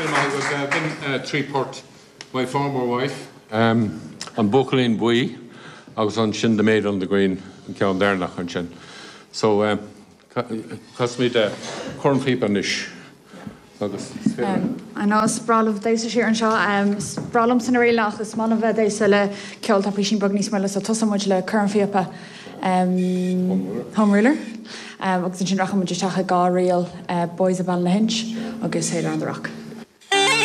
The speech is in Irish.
Maith agat. B'in 3 port, My Former Wife, An Buachaillín Buí agus ansin The Maid on the Green, an ceann deireanach ansin. So, casfaimid cornphíopa anois agus is féidir. I know, is breá libh damhsa siar anseo. Is breá liomsa na ríleanna ach is maith liom bheith ag damhsa le ceol atá písín beag níos moille so tosóidh muid le cornphíopa Home Ruler agus ansin rachaidh muid isteach i dhá ríl Boys of Ballynahinch agus Sailor on the Rock.